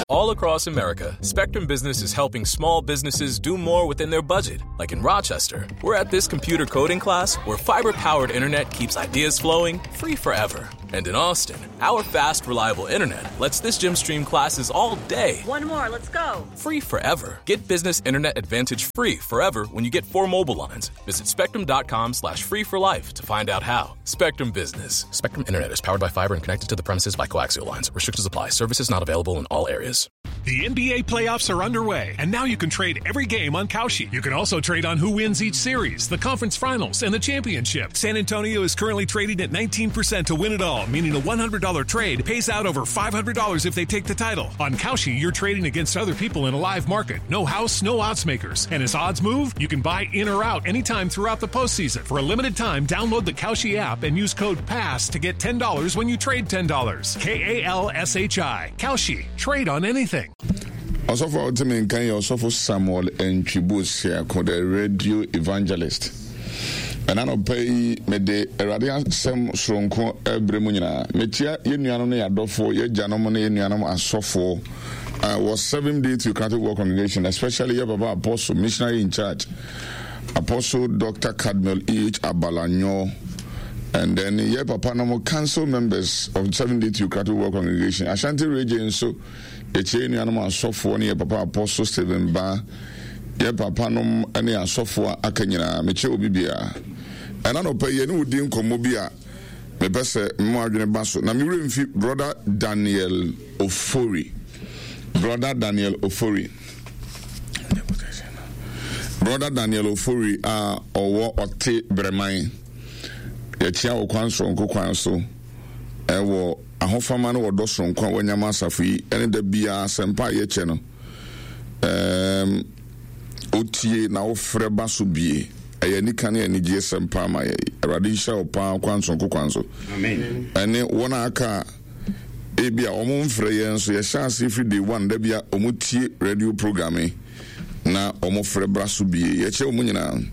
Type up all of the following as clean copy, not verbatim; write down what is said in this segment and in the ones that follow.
All across America, Spectrum Business is helping small businesses do more within their budget. Like in Rochester, we're at this computer coding class where fiber powered internet keeps ideas flowing free forever. And in Austin, our fast, reliable internet lets this gym stream classes all day. One more, let's go. Free forever. Get business internet advantage free forever when you get four mobile lines. Visit spectrum.com slash free for life to find out how. Spectrum Business. Spectrum Internet is powered by fiber and connected to the premises by coaxial lines. Restrictions apply. Services not available in all areas. The NBA playoffs are underway, and now you can trade every game on Kalshi. You can also trade on who wins each series, the conference finals, and the championship. San Antonio is currently trading at 19% to win it all, meaning a $100 trade pays out over $500 if they take the title. On Kalshi, you're trading against other people in a live market. No house, no odds makers. And as odds move, you can buy in or out anytime throughout the postseason. For a limited time, download the Kalshi app and use code PASS to get $10 when you trade $10. K A L S H I. Kalshi. Trade on anything. Ɔsɔfo a ɔte me nka yɛ Ɔsɔfo Samuel Antwi Boasiako, the radio evangelist. Ɛna anɔpa yi mede Awurade asɛm soronko ɛbrɛ mu nyinaa. Mekyia yɛn nuanom ne yɛn adɔfoɔ, yɛn agyanom ne yɛn nuanom asɔfoɔ a wɔ Seventh Day Theocratic World Congregation, especially yɛ papa Apostle, missionary in charge, Apostle Dr. Cadmiel E.H. Abalanyo, and then yɛ papa nom council members of Seventh Day Theocratic World Congregation, Ashanti Region nso, yɛkyia yɛn nuanom asɔfoɔ ne yɛ papa Apostle Stephen Ba, yɛ papa nom ne asɔfoɔ a aka nyinaa, mekyia obi biara. Ɛna nɔpɛ yɛne wo di nkɔmmɔ bi a mepɛ sɛ mo adwene ba so, na me werɛ mfi Brother Daniel Ofori. Brother Daniel Ofori. Brother Daniel Ofori a ɔwɔ ɔte Brɛman. Yɛkyia wɔ kwan soronko kwan so ɛwɔ ahofama ne wɔdɔ soronko a wanya ma asafo yi ɛne da biara asɛmpa a yɛkyɛ no. Ɛɛm, otie na wofrɛ ba so bie. Ɛyɛ anika ne anigyeɛ sɛm paa ma yɛ. Awurade nhyira wo paa kwan soronko kwan so. Ɛne wɔn a aka a ebi a wɔn mfrɛ yɛn nso yɛhyɛ ase firi day one da bi a wɔn tie radio program yi na wɔn frɛ bra so bie. Yɛkyɛ wɔn nyinaa.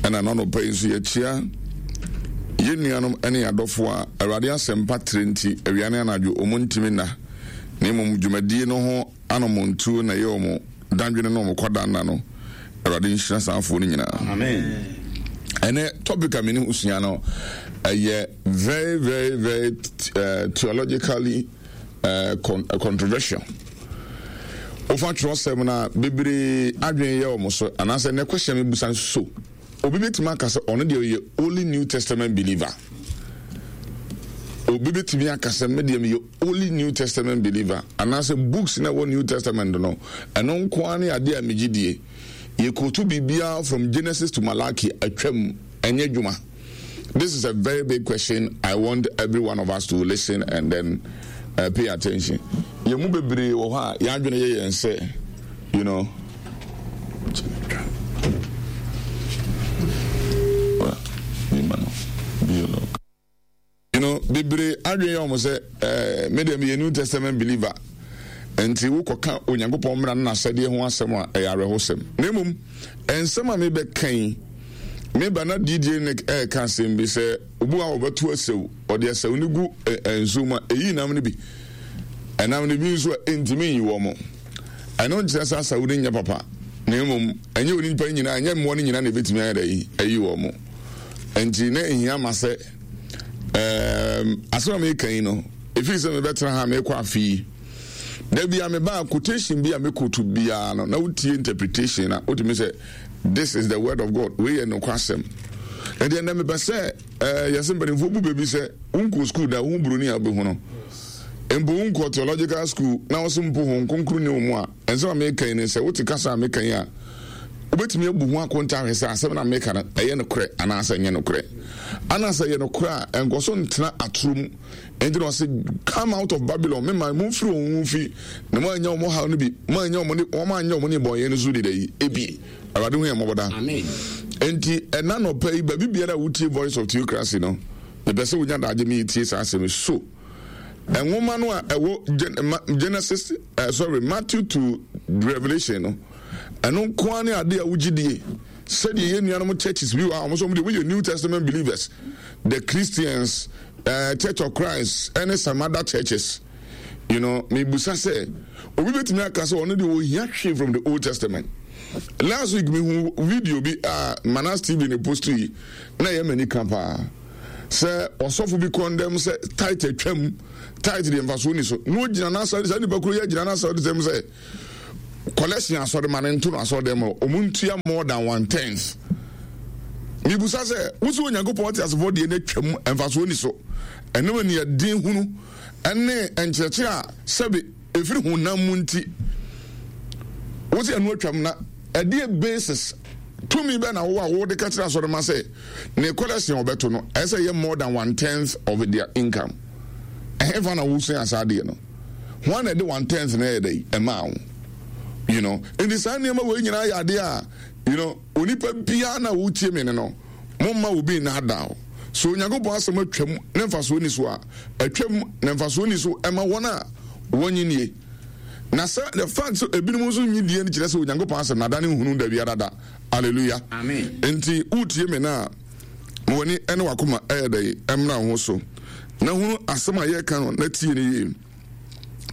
Ɛna n'anɔpa yi nso yɛkyia yɛn nuanom ne yɛn adɔfo a Awurade asɛmpa tire nti awia ne anadwo wɔn ntumi nna na mmom dwumadie no ho anɔmɔntuo na ɛyɛ wɔn dadwene ne wɔn kwadanna no. Awurade nhyira saa afoɔ no nyinaa. Amen. Ɛnɛ topic a mene ho sua no ɛyɛ very very very uh, theologically uh, con uh, controversial. Wofa twerɛsɛm no a bebree adwene yɛ wɔn so anaasɛ nɛ question mi busa so obi bɛtumi aka sɛ ɔno deɛ ɔyɛ only New Testament believer. Obi bɛtumi aka sɛ me deɛ meyɛ only New Testament believer anaasɛ books na ɛwɔ New Testament no ɛno nko ara ne adeɛ a megye die. Yɛkɔtu biribiara from Genesis to Malachi atwam ɛnyɛ adwuma. This is a very big question. I want every one of us to listen and then uh, pay attention. Yɛn mu bebree wɔ hɔ a yɛn adwene yɛ yɛn sɛ you know. You know, bebree adwene yɛ wɔn sɛ ɛɛ eh, me deɛ meyɛ New Testament believer nti wokɔka Onyankopɔn mmara no n'asɛdeɛ ho asɛm a ɛyɛ awerɛhosɛm. Na mmom nsɛm a mebɛka yi meba na DJ Nick ɛreka asɛm bi sɛ obi a wɔbɛto asau ɔde asau no gu nsuo mu a ɛyi nam no bi ɛnam no bi nso a ɛntumi nyi wɔn. Ɛno nkyerɛ sɛ asau no nyɛ papa na mmom ɛnyɛ onipa nyinaa ɛnyɛ mmoa no nyinaa na ɛbɛtumi ayɛ dɛ ayi wɔn. Nti na ɛhia ma sɛ Um, asɛm a meka yi no, ɛfiri sɛ mebɛtena ha mekɔ afe yi, da bia mebaa quotation bi a mekɔtu biara no, na wotie interpretation na wotumi sɛ this is the word of God, wei yɛ nokwasɛm. Ɛdeɛ nnɛ mepɛ sɛ eh, yɛsɛ mpanimfoɔ bu baabi sɛ wonkɔ school da wohu buroni a wobɛhu no mpo wonkɔ theological school na wo so mpo ho nkonkron ne wo mu a Nsɛm a mereka yi ne sɛ, wote kasa a meka yi a, wobɛtumi abu ho akonta ahwɛ sɛ asɛm no a meka no, ɛyɛ nokorɛ anaasɛ ɛnyɛ nokorɛ. Ana sɛ ɛyɛ nokorɛ a, ɛnkɔ so ntena atoro mu. Enti na ɔse, Come out of Babylon, me man, momfiri wɔn mu mfi, na moannya wɔn haw no bi, moannya wɔn ne, wɔn anyɛ wɔn nnebɔneyɛ no so deda yi ebi. Awurade hu yɛn mmɔbɔ daa. Enti ɛna nɔpa yi, baabi biara a wotie Voice of Theocracy no, mepɛ sɛ wonya daagye me tie saa asɛm yi. So nwoma no a ɛwɔ Genesis uh, sorry Matthew to Revelation no ɛno nko ara ne ade a wogye die sɛdeɛ yɛn nuanom churches bi wɔ a wɔn nso wɔn deɛ wɔyɛ New Testament believers the Christians uh, Church of Christ ɛne some other churches. You know, mebusa sɛ obi bɛtumi aka sɛ ɔno deɛ ɔhia hwee from the Old Testament. Last week mehu video bi a Manas TV ne post yi na ɛyɛ m'ani ka paa sɛ ɔsɔfo bi condemn sɛ tithe atwam, tithe deɛ mfasoɔ ni so na ɔgyina n'asɔre saa nipa koro yi agyina n'asɔre sɛm sɛ collection asɔre ma no nto no asɔre dɛm hɔ ɔmo ntua more than one tenth. Mebusa sɛ wosi Onyankopɔn ɔte asefoɔ deɛ no atwam mfasoɔ ni so ɛnam aniɛden hunu ne nkyerɛkyerɛ a sɛbe ɛfiri honam mu nti, wose ɛno atwam na ɛdeɛ basis tumi bɛ na wowɔ a wode ka kyerɛ asɔrema sɛ ne collection a ɔbɛto no ɛsɛ yɛ more than one tenth of their income? Ɛhefa na wosua saa adeɛ no? Hwan na ɛde one tenth no ɛyɛ dɛ ɛmaa wo? You know, nti saa nneɛma wei nyinaa yɛ adeɛ a, you know, Onipa biara no a wotie me no no, momma obi nnaadaa wo. Sɛ Onyankopɔn asɛm atwam na mfasoɔ nni so a, atwam na mfasoɔ nni so ma wɔn a wɔnnye nnie. Na sɛ the fact sɛ ebinom nso nnye die no kyerɛ sɛ Onyankopɔn asɛm no adane nhunu da biara da. Hallelujah. Amen. Enti wotie me no a, ma w'ani ne w'akoma ɛyɛ dɛ mmra wo ho so na hunu asɛm a yɛreka no na tie no yie.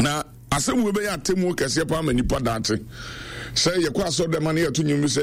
Na asɛm wei bɛyɛ atemmuo kɛseɛ paa ma nnipa daakye. Sɛ yɛkɔ asɔrɔdɛm a na yɛto nnwom bi sɛ.